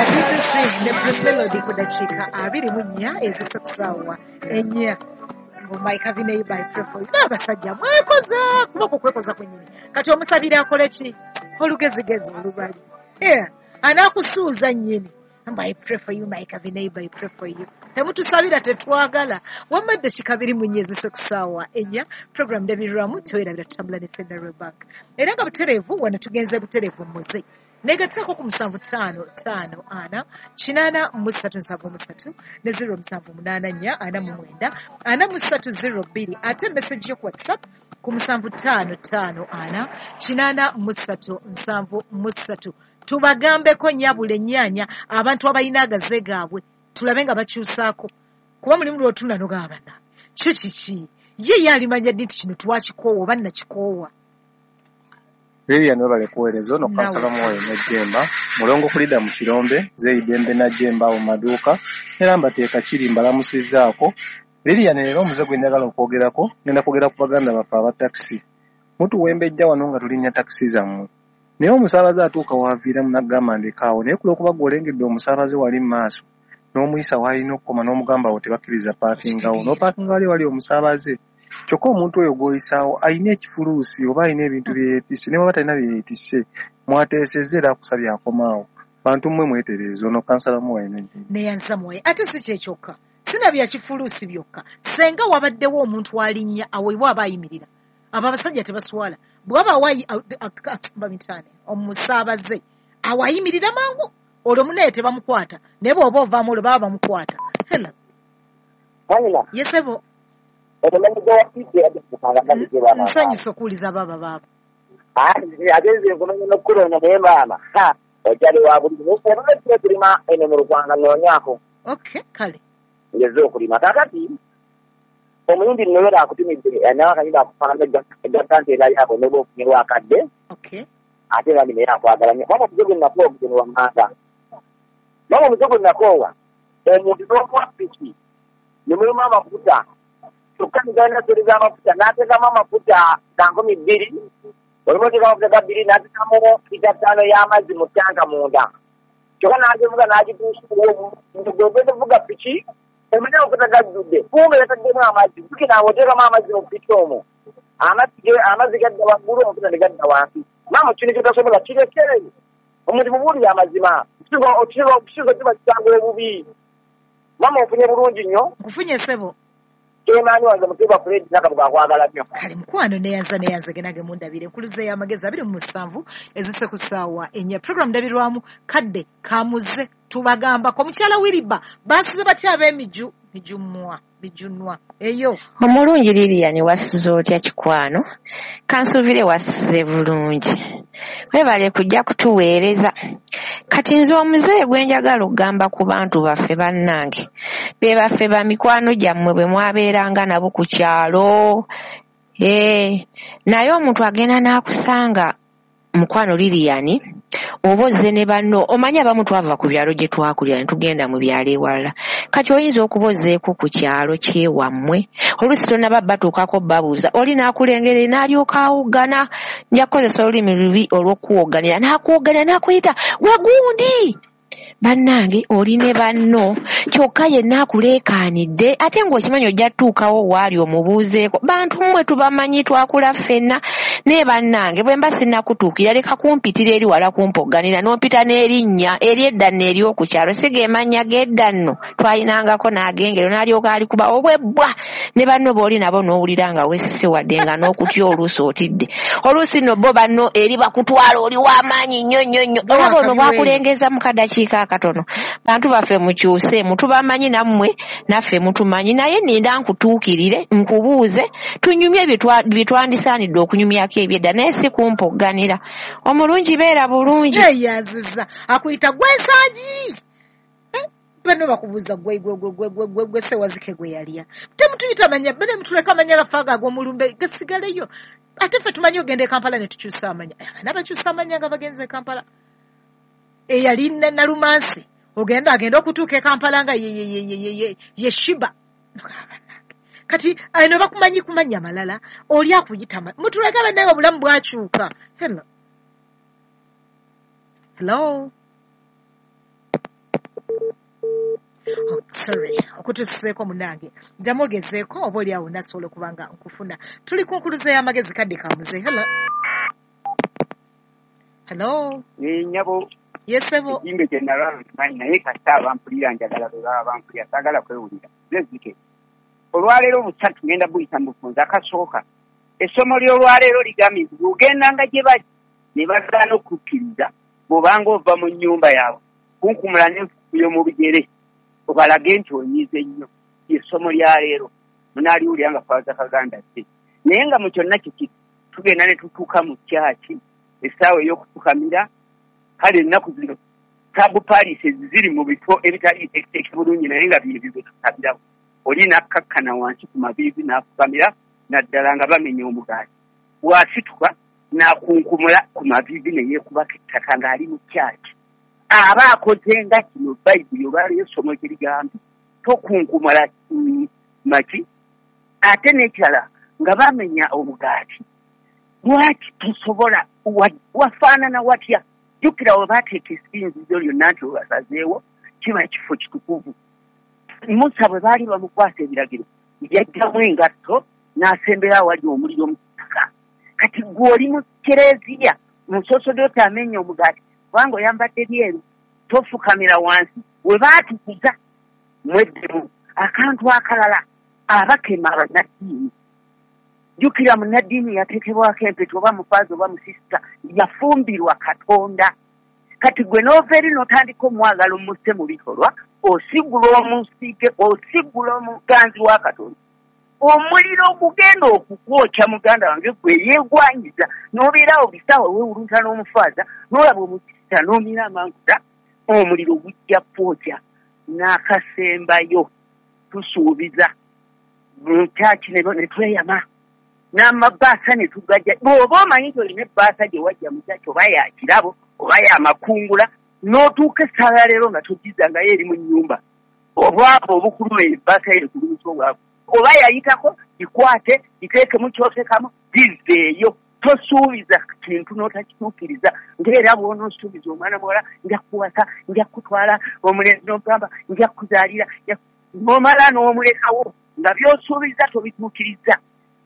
B2C ne Bruce Melody ku dakiika 24 ezisa ku ssaawa 4. Mike Avenue by Prefoy. N'abasajja mwekoza kuba ku kwekoza kwennyini. Kati omusabira akole ki? Olugezigezi olubali. Anaakusuuza nnyini. I pray for you, Mike Avenue, I pray for you. Temutusabira tetwagala. Wamma eddakiika 24 ezise ku ssaawa 4. Program ndabirwamu tewerabira tutambula ne Central Bank. Era nga butereevu wano tugenze butereevu muze. Negattako ku 7 5 5 4 8 3 7 3 ne 0 7 8 4 49 43 02 ate message yo ku WhatsApp ku 7 5 5 4 8 3 7 3. Tubagambeko nnyabula ennyaanya abantu abalina agaze gaabwe tulabe nga bakyusaako kuba mulimu lw'otunda n'ogamba kyo kiki ye yalimanya ddi nti kino twakikoowa oba nnakikoowa. Lilian webale kuweereza ono kansala Muwayo Najjemba mulongo kulida mu Kirombe Zeidembe Najjemba awo maduuka era mbateeka kiri mbalamusizzaako. Lilian leero omuze gwe njagala okwogerako ngenda kwogera ku baganda baffe aba takisi. Mutuwembejja wano nga tulinnya takisi zammwe naye omusaabaze atuuka waaviiramu n'agamba ndekaawo naye ku lw'okuba gw'olengedde omusaabaze wali mu maaso n'omuyisa w'alina okukoma n'omugamba awo tebakkiriza paakingawo n'opaakinga wali wali omusaabaze kyokka omuntu oyo gw'oyisaawo alina ekifuluusi oba alina ebintu bye yeetisse ne bw'aba talina bye yeetisse mwateesezza era akusabye akomaawo. Bantu mmwe mwetereeze. Ono kansala Muwayo Najjemba. Neyanza Muwayo. Ate si kye kyokka sinabya kifuluusi byokka senga wabaddewo omuntu alinnya awo aba ayimirira abo abasajja tebaswala bw'aba bamitaane omusaabaze awo ayimirira mangu olwo munaye tebamukwata naye bw'oba ovaamu olwo baba bamukwata. Hello. Yesebo. Nsanyusa okuwuliza baaba baaba. Agenze nkumanya n'okukulonda naye maama okyali wa buli oba kulima eno mu Lukwanga nnoonyaako. Okay, kale. Ngeze okulima kaakati omuyindi nno akutumidde nawe akayimba akufaanana egga nti era yako n'oba ofunyewo akadde. Okay. Ate era naye akwagala nnyo. Maama omuze gwe nnakoowa omuze wa mmanga. Maama omuze gwe nnakoowa omuntu n'omuwa piki ne mulimu amafuta kyokka nigenda sereza amafuta n'ateekamu amafuta ga 2,000 olimu oteekamu amafuta ga 2 n'ateekamu lita 5 y'amazzi mu ttanka munda kyokka n'agivuga n'agituusa gwe piki omanye amafuta gajjudde kumbe yataddemu amazzi jjukira awo oteekamu amazzi mu piki omwo amazzi gadda waggulu amafuta ne gadda wansi. Maama kino kyotasobola kirekere omuntu mubuulire amazima okusinga kiba kisango obubi. Maama ofunye bulungi nnyo. Nkufunye ssebo. Kyemaanyi wange mutuba Fred Nakabuga akwagala nnyo. Kale mukwano neyanza neyanza genage mundabire enkuluze y'amagezi 27 ezise ku ssaawa 4. Program ndabirwamu kadde kamuze tubagambako omukyala Wiriba basuze batya ab'emiju mijunwa eyo. Omulungi Lilian wasuze otya kikwano? Kansuubire wasuze bulungi. Webale kujja kutuweereza. Kati nze omuzeeyi gwe njagala okugamba ku bantu baffe bannange be baffe ba mikwano gyammwe bwe mwabeeranga nabo ku kyalo. Naye omuntu agenda n'akusanga mukwano Lilian oba ozze ne banno omanyi abamu twava ku byalo gye twakulira ne tugenda mu byalo ewalala. Kati oyinza okuba ozzeeko ku kyalo kyewammwe oluusi tonnaba batuukako babuuza oli n'akulengera n'alyoka awoggana nja kukozesa olulimi lubi olw'okuwogganira n'akuwogganira n'akuyita gwe gundi. Bannange oli ne banno kyokka yenna akuleekaanidde ate ng'okimanyi ojja tutuukawo waali omubuuzeeko. Bantu mmwe tubamanyi twakula ffenna naye bannange bwe mba sinnakutuukira leka kumpitira eri wala kumpogganira n'ompita n'erinnya ery'edda nno ery'oku kyalo si ge mannya g'edda nno twalinangako n'agengero n'alyoka alikuba obwebbwa ne banno b'oli nabo n'owulira nga weesise wadde nga n'okutya oluusi otidde. Oluusi nno bo banno eri bakutwala oli w'amaanyi nnyo nnyo nnyo. Olaba ono bw'akulengeza mu kadakiika akatono. Bantu baffe mukyuse mutubamanyi nammwe naffe mutumanyi naye nninda nkutuukirire nkubuuze tunyumye bye twandisaanidde okunyumyako ebyedda naye si kumpogganira. Omulungi beera bulungi. Neyanziza akuyita gwe nsangi. Bano bakubuuza gwe gwe gwe gwe gwe gwe gwe sewazike gwe yalya. Temutuyita manya bane mutuleka amanya gaffe ago ag'omulumbe gasigaleyo. Ate ffe tumanyi ogenda e Kampala ne tukyusa amanya. Abaana bakyusa amanya nga bagenze e Kampala. Eyali Nalumansi ogenda agenda okutuuka e Kampala nga ye Shiba. Kati eno bakumanyi kumanya malala oli akuyita mutuleka bannaye obulamu bwakyuka. Hello. Hello. Sorry okutusiseeko munange, ddamu ogezeeko oba oli awo nasobola okuba nga nkufuna. Tuli ku nkuluze y'amagezi, kadde ka muze. Hello, hello. Nyabo. Yesebo. Ekimbe kye nalaba nkimanyi, naye kasita abampulira njagala bwe baba bampulira, saagala kwewulira. Nze olwaleero busatu ngenda buyita mu bufunze. Akasooka, essomo ly'olwaleero ligambye nti bw'ogendanga gye bali ne bagaana okukkiriza, bw'obanga ova mu nnyumba yaabwe kunkumula n'enfufu y'omu bigere obalage nti onyiize nnyo. Essomo lya leero munaaliwulira nga Faaza Kaganda tte. Naye nga mu kyonna kiki, tugenda ne tutuuka mu kyaki essaawa ey'okufukamira. Kale ennaku zino sub parishes ziri mu bifo ebitali biteeketeeke bulungi, naye nga byebyo bye tusabirawo. Oli n'akkakkana wansi ku maviivi n'afukamira, naddala nga bamenya omugaati. Bw'asituka n'akunkumula ku maviivi ne yeekubako ettaka ng'ali mu kyaki. Aba akoze nga kino Bayibuli olwaleero essomo kye ligambye, tokunkumula maki. Ate n'ekirala, nga bamenya omugaati, lwaki tosobola wafaanana watya? Jjukira we baateeka essinzizo lyonna nti webasazeewo kiba kifo kitukuvu. Musa bwe baali bamukwasa ebiragiro yajjamu engatto n'asembera awali omuliro mu ttaka. Kati ggwe oli mu kereziya, musosodooti amenya omugaati kubanga oyambadde byeru, tofukamira wansi we baatukuza mweddemu. Akantu akalala, abakema bannaddiini. Jjukira munnaddiini yateekebwako empeta, oba mufaaza oba musisita, yafumbirwa Katonda. Kati gwe n'ova eri n'otandika omwagala omusse mu bikolwa, osigula omusige, osigula omuganzi wa Katonda. Omuliro ogugenda okukwokya muganda wange gwe yeegwanyiza, n'obeerawo bisaawa weewulunta n'omufaaza, n'olaba omusisita n'omira amanguta, omuliro gujja kwokya. N'akasembayo, tusuubiza mu kyaki ne tweyama n'amabaasa ne tugajja. Bw'oba omanyi nti olina ebbaasa gye wajja mu kyaki, oba ya kirabo oba ya makungula, n'otuuka essaawa ya leero nga togizangayo eri mu nnyumba, obwavu obukuluma ebbaasa yeekulumisa obwavu, oba yayitako gikwate giteekemu ky'oteekamu giveeyo. Tosuubiza kintu n'otakituukiriza. Ng'era bw'onoosuubiza omwana muwala nja kukuwasa, nja kukutwala, omulenzi n'ogamba nja kukuzaalira, n'omala n'omulekawo nga by'osuubiza tobituukiriza.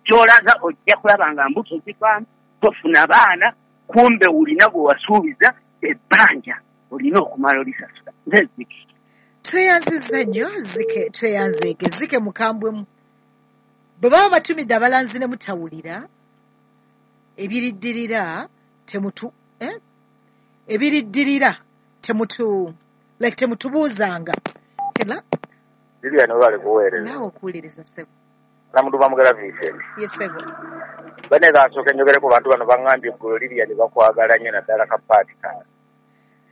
Ky'olaga ojja kulaba nga mbuto zivaamu, tofuna baana, kumbe olina gwe wasuubiza ebbanja olina okumala olisasula. Nze Zike. Tweyanzizza nnyo Zike, tweyanzeege Zike mukambwemu. Bwe baba batumidde abalanzi ne mutawulira, ebiriddirira temutu ebiriddirira temutu like temutubuuzanga. Hello. Lilian, webale kuweereza. Naawe okuwuliriza ssebo. Namuduba Mugera Vincent. Ye ssebo. Bane kansooke njogere ku bantu bano baŋŋambye eggulo Lilian bakwagala nnyo, naddala ka paati kano.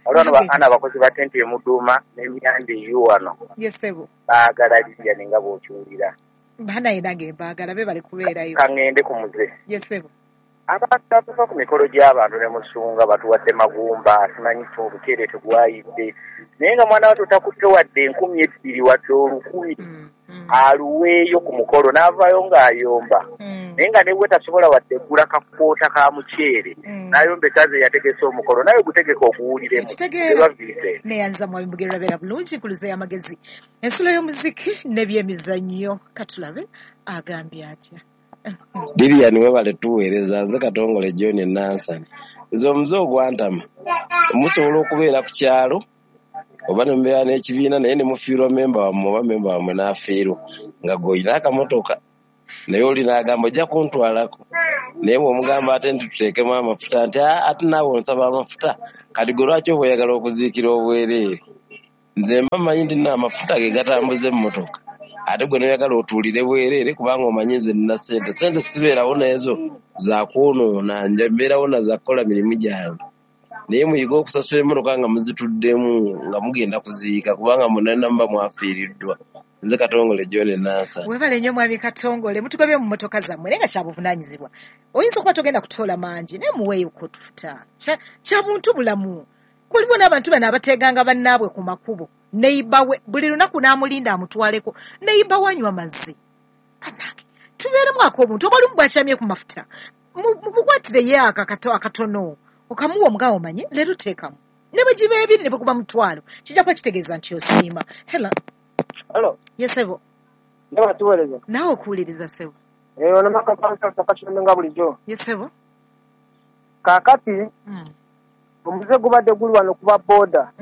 Waliwo bano ana abakozi ba tenti emuduuma n'emyanda eyu wano. Ye ssebo. Baagala Lilian nga bw'okiwulira. Banaye nange mbaagala, be bali kubeerayo. Kaŋŋende ku muze. Ye ssebo. Abantu abava ku mikolo gy'abantu ne musunga batuwadde magumba, simanyi ki obuceere tegwayidde. Naye nga mwana wattu takutte wadde 2,000 wadde 1,000 aluweeyo ku mukolo n'avaayo ng'ayomba. Naye nga ne bwe tasobola wadde ggula kakoota ka muceere, n'ayomba ekyaze yategese omukolo, naye gutegeka oguwuliremu. Ekitegeera. Neyanza Mwami Mugerwa, beera bulungi. Nkuluze y'amagezi, ensulo y'omuziki n'ebyemizannyo. Katulabe agambye atya. Lilian webale tuweereza. Nze Katongole John Nansani. Nze omuze ogwantama, musobola okubeera ku kyalo oba ne mubeera n'ekibiina, naye ne mufiirwa memba wammwe oba memba wammwe n'afiirwa nga gw'olina akamotoka, naye oli n'agamba ojja kuntwalako, naye bw'omugamba ate nti tuteekemu amafuta, nti ate naawe onsaba amafuta, kati gwe lwaki oba oyagala okuziikira obwereere? Nze mba mmanyi nti nno amafuta ge gatambuza emmotoka, ate gwe n'oyagala otuulire bwereere kubanga omanyi nze nina ssente. Ssente sibeerawo n'ezo za kwonoona, nja mbeerawo na za kukola mirimu gyange. Naye muyige okusasula emmotoka nga muzituddemu nga mugenda kuziika, kubanga munna muba mwafiiriddwa. Nze Katongole John Nansani. Webale nnyo Mwami Katongole, mutugobye mu mmotoka zammwe, naye nga kyabuvunaanyizibwa. Oyinza okuba togenda kutoola mangi, naye muweeyo otufuta. Kya buntu bulamu. Waliwo n'abantu bano abateeganga bannaabwe ku makubo, neighbor we buli lunaku n'amulinda amutwaleko, neighbor we anywa mazzi. Bannange, tubeeremu ak'obuntu. Oba olumu bw'akyamye ku mafuta, mukwatireyo akatono, okamuwa omugabo omanye leero teekamu. Ne bwe giba ebiri ne bwe guba mutwalo, kijja kuba kitegeeza nti osiima. Hello. Hello. Ye ssebo. Ndaba tuweereza. Naawe okuwuliriza ssebo. Ono makabanka nga bulijjo. Ye ssebo. Kaakati omuze gubadde guli wano kuba booda.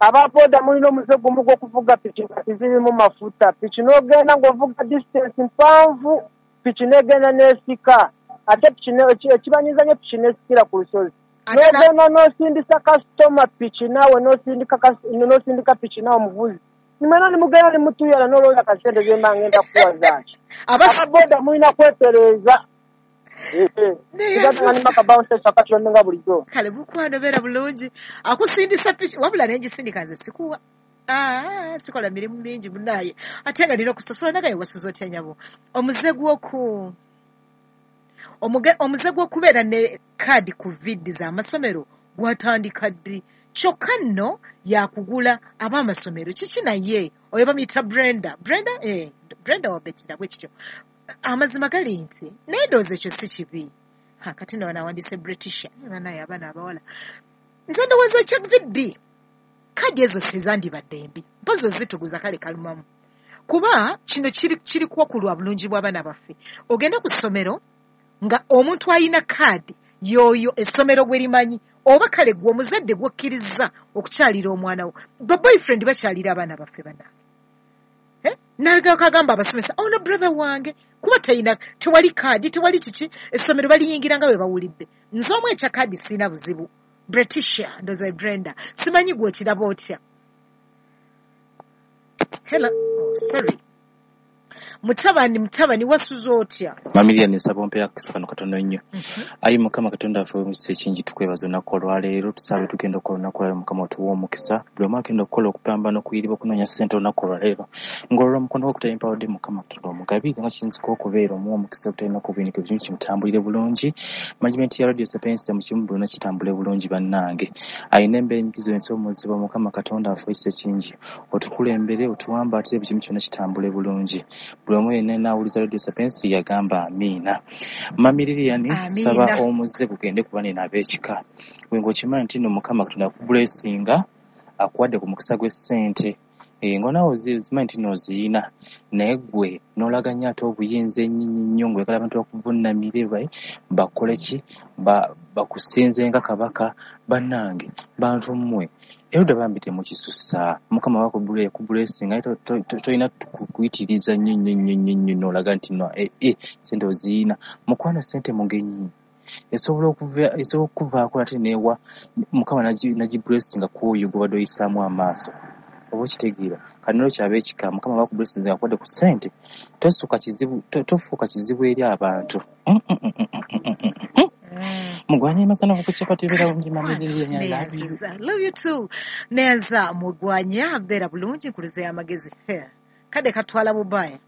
Aba booda mulina omuze gumu gw'okuvuga piki nga tizirimu mafuta. Piki n'ogenda ng'ovuga distance mpanvu, piki n'egenda n'esika. Ate piki ekibanyiza nnyo piki n'esikira ku lusozi. N'ogenda n'osindisa kasitoma piki naawe n'osindika piki naawe omuvuzi. Nimwena nimugenda nimutuyala n'olowooza kasente ze mba ngenda kuwa zaaki. Aba booda mulina kwetereeza. Kale mukwano beera bulungi. Akusindisa piki wabula nengisindika nze sikuwa. Sikola mirimu mingi munaaye ate nga nina okusasula nagaye wasuza otya nyabo. Omuze gw'okubeera ne kaadi ku viddi z'amasomero gwatandika ddi? Kyokka nno yakugula ab'amasomero kiki naye oyo bamuyita Brenda. Brenda Brenda wa Betina bwe kityo. Amazima gali nti naye ndowooza ekyo si kibi. Kati nno wanawandiise British banaye abaana abawala. Nze ndowooza ekya viddi kaadi ezo sizandibadde mbi, mpozi ozituguza kale kalumamu. Kuba kino kiri kuwakulwa bulungi bw'abaana baffe. Ogenda ku ssomero nga omuntu alina kaadi y'oyo essomero gwe limanyi oba kale gwe omuzadde gw'okkiriza okukyalira omwana wo. Ba boyfriend bakyalira abaana baffe bannange. Nagamba abasomesa ono brother wange kuba talina tewali kaadi tewali kiki essomero baliyingira nga bwe bawulidde. Nze omu ekya kaadi sirina buzibu. Bretisha ndoza Brenda simanyi gwe okiraba otya. Hello, oh, sorry. Mutabani wasuza otya? Mamiriya nsaba ompe akakisa kano katono nnyo. Ayi Mukama Katonda waffe ow'emikisa ekingi tukwebaza olunaku olwaleero, tusabe tugenda okukola olunaku olwaleero Mukama otuwe omukisa. Buli omu agenda okukola okupambana okuyiriba okunoonya ssente olunaku olwaleero. Ng'olwo omukono gwo gutayimpawadde Mukama Katonda omugabire nga kiyinzika okubeera omuwe omukisa ogutalina kubinika ebizibu kimutambulire bulungi. Management ya Radio Sapientia mu kimu byonna kitambule bulungi bannange. Ayina embeera enyigizo ensi omuzibu Mukama Katonda waffe ow'ekisa ekingi otukulembere otuwambaatire buli kimu kyonna kitambule bulungi. Buli omu yenna n'awuliza Radio Sapientia yagamba amiina. Mami Lilian saba omuze gugende ku banene ab'ekika. Gwe ng'okimanyi nti nno Mukama Katonda akubulesinga akuwadde ku mukisa gw'essente. Ng'onaawe ozimanyi nti nno oziyina naye ggwe n'olaga nnyo ate obuyinza ennyo nnyo ng'oyagala abantu bakuvunnamire bakole ki bakusinze nga kabaka. Bannange bantu mmwe erudda bambi temukisusa. Mukama wakubulesinga tolina kuyitiriza nnyo nnyo nnyo nnyo nnyo n'olaga nti no ssente oziyina. Mukwano ssente mugenyi esobola okuvaako ate neewa Mukama nagibulesinga ku oyo gw'obadde oyisaamu amaaso. Oba okitegeera. Kati n'olwekyo ab'ekika Mukama bakubulesinze akuwadde ku ssente tofuuka kizibu eri abantu. Mugwanya masana kukuchapati beera bulungi mami Lilian, I love you. Love you too. Neyanza mugwanya beera bulungi nkuluze y'amagezi. Kadde katwala bubaya.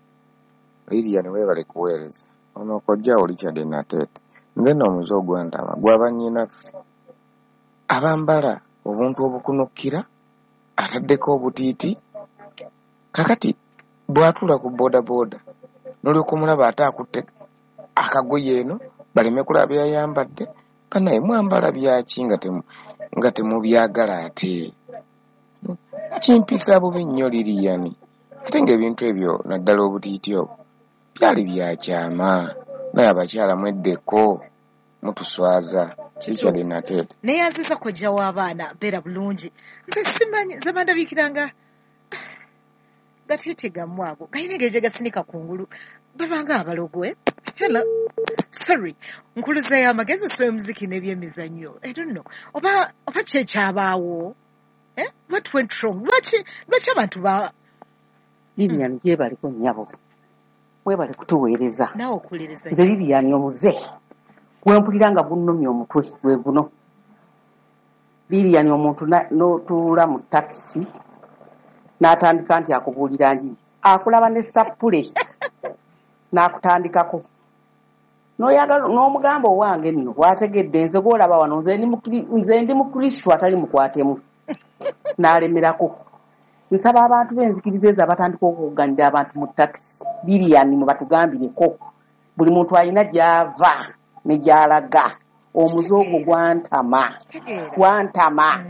Lilian weebale kuweereza. Ono kojja Richard Nateete. Nze nno omuze ogwantama gwaba nnyinaffe abambala obuntu obukunukkira ataddeko obutiiti kakati bw'atuula ku boodabooda n'olyoka omulaba ate akutte akagoye eno baleme kulaba byayambadde banaye mwambala byaki nga temubyagala ate kimpisa bubi nnyo Lilian ate ng'ebintu ebyo naddala obutiiti obwo byali byakyama naye abakyala mweddeko mutuswaza. Richard Nateete. Neyanziza kojja w'abaana beera bulungi. Nze simanyi nze bandabikiranga gatiiti gammwe ago galina engeri gye gasinika kungulu babanga abalogwe. Hello. Sorry. Nkuluza y'amagezi osoma emuziki n'ebyemizannyo. I don't know. Oba ki ekyabaawo? What went wrong? Lwaki abantu ba Lilian gyebaliko nnyabo. Mwebale kutuweereza. Naawe okuwuliriza. Nze Lilian omuze gwempulira nga gunnumya omutwe gwe guno. Lilian omuntu n'otuula mu takisi n'atandika nti akubuulira njiri akulaba ne sappule n'akutandikako n'oyagala n'omugamba owange nno bw'ategedde nze gw'olaba wano nze ndi Mukristo atali mukwatemu n'alemerako. Nsaba abantu b'enzikiriza ezo abatandika okukuganira abantu mu takisi Lilian mubatugambireko buli muntu alina gy'ava ne gy'alaga. Omuze ogwo gwantama. Gwantama.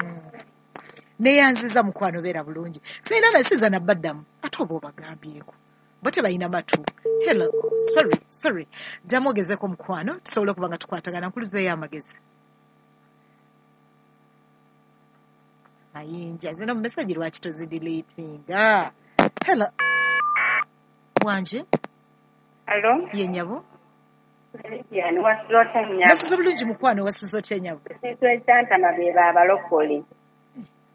Neyanziza mukwano, beera bulungi. Sirina nasiza nabbaddamu ate oba obagambyeko bo tebalina matu. Hello, sorry, ddamu ogezeko mukwano, tusobole okuba nga tukwatagana. Nkuluzeeyo amagezi mayinja zino message lwaki tozideletinga? Hello, wanje. Hello. Ye nnyabo. Lilian, wasuze otya nnyabo? Nasuze bulungi mukwano, wasuze otya nnyabo? Ekintu ekyantama be baabalokole.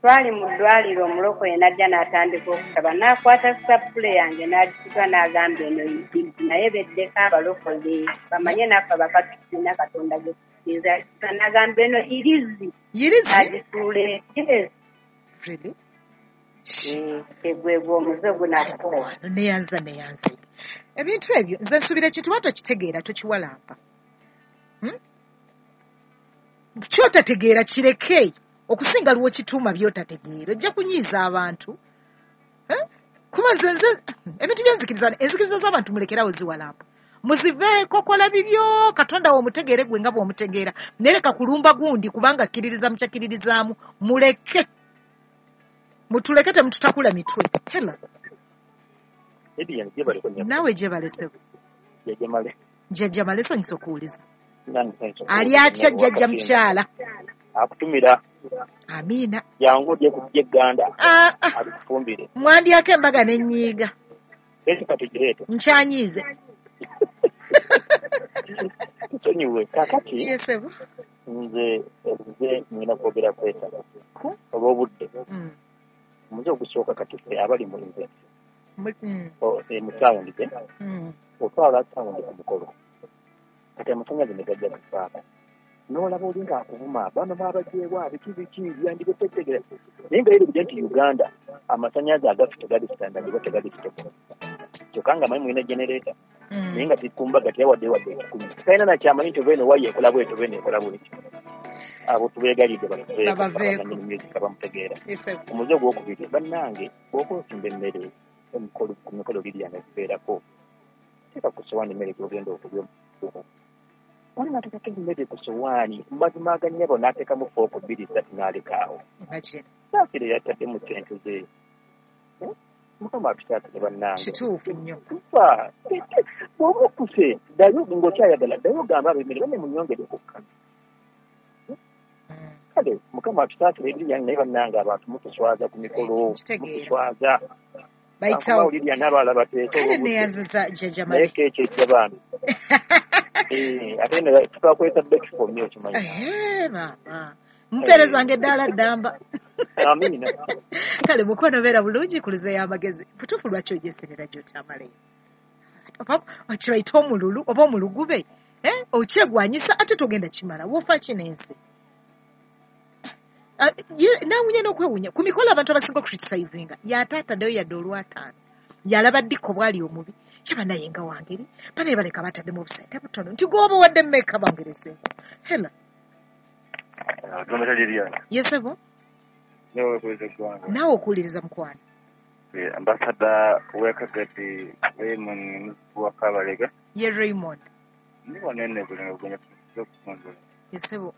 Twali mu ddwaliro, omulokole n'ajja n'atandika okusaba, n'akwata sappule yange n'agituga n'agamba eno yitibbi, naye beddeko abalokole bamanye naffe abakati tulina Katonda gwe tusinza. N'agamba eno irizi. Yirizi? Agituula. Yes. Really? Egwegwe omuze gunakuwa. Neyanza. Ebintu ebyo nze nsuubira ekintu ba tokitegeera tokiwalampa. Kyotategeera kireke okusinga lwo kituuma by'otategeera, ojja kunyiiza abantu. Kuba nze ebintu by'enzikiriza, enzikiriza z'abantu mulekerawo ziwalampa. Muziveeko, kola bibyo, Katonda wo omutegeere gwe nga bw'omutegeera. Naye leka kulumba gundi kubanga akkiririza mu kyakkiririzaamu. Muleke. Mutuleke temututakula mitwe. Hello. Naawe gyebalese. Jjajja Male, nsanyusa okuwuliza. Ali atya jjajja mukyala? Akutumira. Amiina. Jangu odye ku by'egganda. Alikufumbire. Mwandyako embaga n'ennyiiga. Eki katugireete. Nkyanyiize. Nsonyiwe. Kaakati. Yes, ebo. Nze nina kwogera kwetaba. Olw'obudde. Omuze ogusooka kati ffe abali mu nze. Mu tawundi gye. Otwala tawundi ku mukolo. Kati amasannyalaze ne gajja kufaako. N'olaba oli ng'akuvuma bano baabajeewa biki biki byandibitegeera. Naye nga yeerabidde nti Uganda amasannyalaze agaffe tegali standard oba tegali stable. Kyokka nga amanyi mulina generator. Naye nga tikumbaga teyawadde wadde ekikumi. Talina nakyamanyi nti oba eno waya ekola bw'eti oba eno ekola bw'eti. Abo tubeegalidde batuveeko music abamutegeera. Omuze ogwokubiri bannange bw'oba osimba emmere ku mikolo Lilian ekibeerako teeka ku ssowaani emmere gy'ogenda okulya. Wali n'ateekako emmere ku ssowaani mu mazima aga nnyabo n'ateekamu fooko 2 3 n'aleka awo. Saasire yataddemu ssente ze. Mukama atusaasire bannange. Kituufu nnyo. Tufa bw'oba okkuse ddayo ng'okyayagala ddayo ogambe ab'emmere banne munnyongere okukka. Kale Mukama atusaasire Lilian, naye bannange abantu mutuswaza ku mikolo, mutuswaza. Bayitawo. Lilian n'abalala bateese Kale neyanziza jjajja Male. Naye keeki ejja bambi. Ate ne tukakweta Betfo nnyo okimanyi. Maama. Mumpeerezanga eddaala ddamba. Amiina. Kale mukwano beera bulungi, kuluzeeyo amagezi. Butuufu lwaki ogyeserera gy'otamaleyo? Kibayita omululu oba omulugube. Okyegwanyisa ate togenda kimala. Woofa ki n'ensi? Naawunya n'okwewunya. Ku mikolo abantu abasinga okucriticizinga y'ate ataddeyo yadde olwataano. Yalaba ddikko bw'ali omubi. Yaba naye nga wangeri. Banaye baleka bataddemu obusente butono. Nti gw'oba owadde mmeka bangerezeeko. Hello. Yes, ebo. Naawe okuwuliriza mukwano. Ambassador w'Ekagati Raymond Muzibu wa Kabalega. Ye Raymond. Ndi wano eno Bulenga Bugenya okutumbula. Yes, ebo.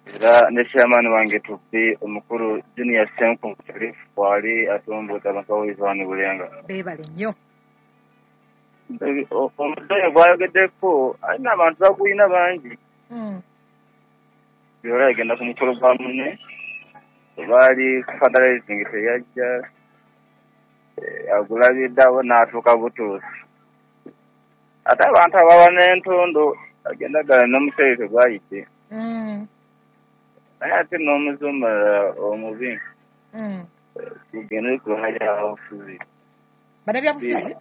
Era ne chairman wange tupi omukulu Junior Senko Sharif wali atomboza abantu bawuliza wano Bulenga. Beebale nnyo. Omuzeeyi gwayogeddeko alina abantu bagulina bangi. Yola yagenda ku mukolo gwa munne baali fundraising teyajja agulabidde awo n'atuuka butuusi. Ate abantu ababa n'entondo agenda gala n'omuceere tegwayidde. Naye ate n'omuze omulala omubi gugende ku bannabyabufuzi. Bannabyabufuzi?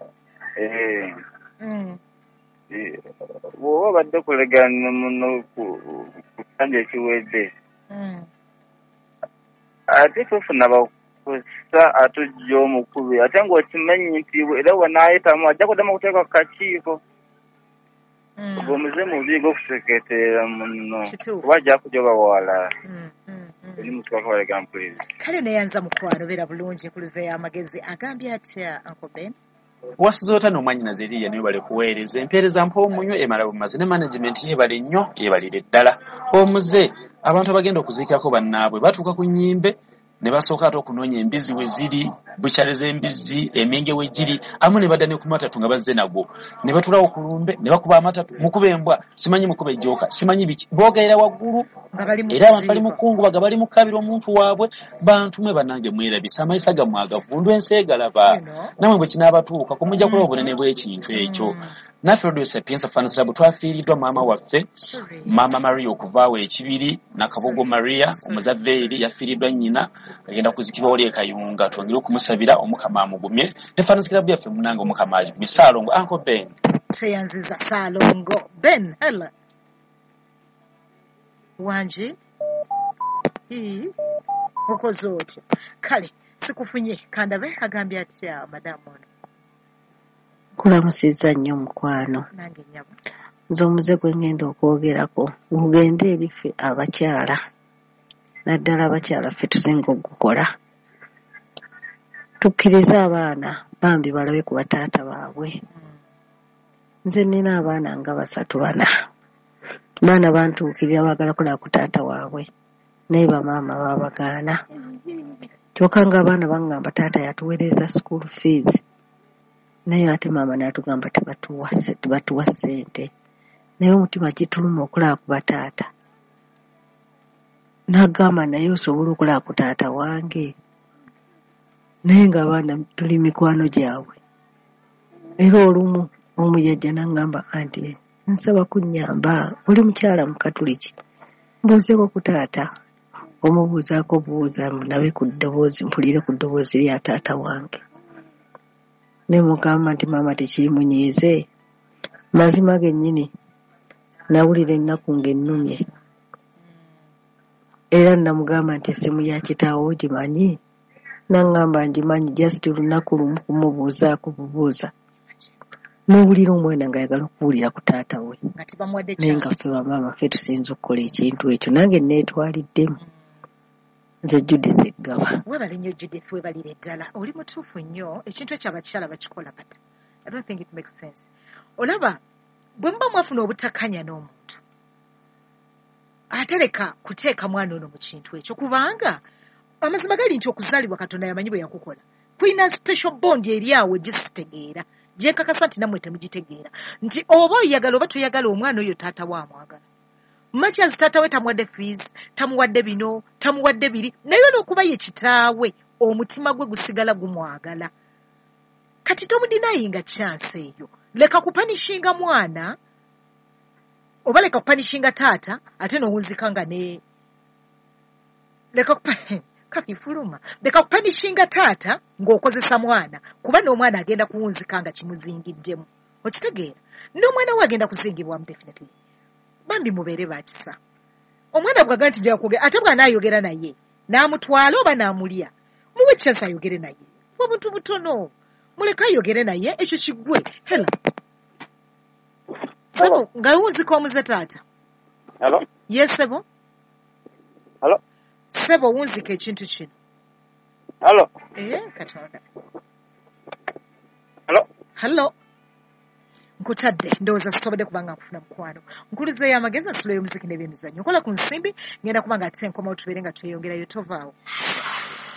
Bw'oba obadde kulegaana muno ku kanja ekiwedde ate tofuna bakusa atujja omukubi ate ng'okimanyi nti era wanaayitamu ajja kuddamu okuteeka ku kakiiko. Ogwo omuze mubi gw'okuseketerera muno kuba ajja kujja obawala. Eri mutukakolega mpuliriza. Kale neyanza mukwano, beera bulungi, nkuluzeeyo amagezi. Agambye atya Uncle Ben? Wasuze otya n'omwannyinaze Lilian, webale kuweereza. Empeereza mpoomunyo emala bumazi ne management yeebale nnyo, yeebalire ddala. Omuze abantu abagenda okuziikako bannaabwe batuuka ku nnyimbe Ne basooka ate okunoonya embizzi we ziri, bukyale z'embizzi, emyenge we giri, amu ne badda ne ku matatu nga bazze nagwo. Ne batulawo ku lumbe, ne bakuba amatatu, mukuba embwa, simanyi mukuba ejjooka, simanyi biki. Boogerera waggulu, era abantu bali mu kungubaga, bali mu kukabira omuntu waabwe. Bantu mwe bannange mwerabisa, amayisa gammwe agavundu, ensi egalaba. Nammwe bwe kinaabatuukako mujja kulaba obunene bw'ekintu ekyo. Naffe Radio Sapientia Fans Club twafiiriddwa maama waffe, Maama Maria okuva awo Ekibiri, Nakabugo Maria Omuzaveeri yafiiriddwa nnyina, agenda kuzikibwa wali e Kayunga. Twongere okumusabira Omukama amugumye, ne Fans Club yaffe munnange Omukama agigumye. Ssaalongo Uncle Ben. Tweyanziza Ssaalongo Ben. Hello. Wangi? Okoze otya? Kale sikufunye, kandabe agambye atya madamu ono. Nkulamusizza nnyo mukwano. Nange nnyabo. Nze omuze gwe ngenda okwogerako gugende eri ffe abakyala, naddala abakyala ffe tusinga okugukola. Tukkirize abaana bambi balabe ku bataata baabwe. Nze nnina abaana nga 3 4. Baana bantuukirira baagala kulaba ku taata waabwe, naye bamaama baabagaana. Kyokka ng'abaana baŋŋamba taata yatuweereza school fees, naye ate maama n'atugamba tebatuwa ssente. Naye omutima gituluma okulaba ku bataata. N'agamba naye osobola okulaba ku taata wange, naye ng'abaana tuli mikwano gyabwe. Era olumu omu yajja n'aŋŋamba anti nsaba kunnyamba, oli mukyala Mukatuliki, mbuuzeeko ku taata. Omubuuzaako buuza ndabe ku ddoboozi, mpulire ku ddoboozi lya taata wange. Ne mugamba nti maama tekiimunyiize. Mazima gennyini nawulira ennaku ng'ennumye. Era namugamba nti essimu ya kitaawo ogimanyi? N'aŋŋamba ngimanyi, just lunaku lumu kumubuuzaako bubuuza. N'owulira omwana ng'ayagala okuwulira ku taata we. Nga tebamuwadde Naye nga chance. ffe bamaama ffe tusinza okukola ekintu ekyo. Nange neetwaliddemu. Nze Judith Eggaba. Weebale nnyo Judith, weebalire ddala. Oli mutuufu nnyo, ekintu ekyo abakyala bakikola, but I don't think it makes sense. Olaba bwe muba mwafuna obutakkaanya n'omuntu, ate leka kuteeka mwana ono mu kintu ekyo, kubanga amazima gali nti okuzaalibwa Katonda yamanyi bwe yakukola. Kulina special bond eri awo gye sitegeera, gye nkakasa nti nammwe temugitegeera, nti oba oyagala oba toyagala omwana oyo taata we amwagala. Much as taata we tamuwadde fees, tamuwadde bino, tamuwadde biri, naye olw'okuba ye kitaawe omutima gwe gusigala gumwagala. Kati tomudenyinga chance eyo. Leka kupunishinga mwana oba leka kupunishinga taata ate n'owunzika nga ne leka kakifuluma. Leka kupunishinga taata ng'okozesa mwana, kuba n'omwana agenda kuwunzika nga kimuzingiddemu. Okitegeera? N'omwana we agenda kuzingibwamu definitely. Bambi mubeere ba kisa. Omwana bw'aga nti nja kwogera, ate bw'anaayogera naye n'amutwala oba n'amulya, muwe chance ayogere naye. Obuntu butono. Muleke ayogere naye ekyo kiggwe. Hello. Ssebo nga wunzika omuze taata. Hello? Yes ssebo. Hello? Ssebo wunzika ekintu kino. Hello? Katonda. Hello? Hello. Nkutadde ndowooza sisobodde kubanga nkufuna mukwano. Nkuluzeeyo amagezi, nsulo y'omuziki n'ebyemizannyo. Nkola ku nsimbi, ngenda kuba nga ate nkomawo tubeere nga tweyongerayo, tovaawo.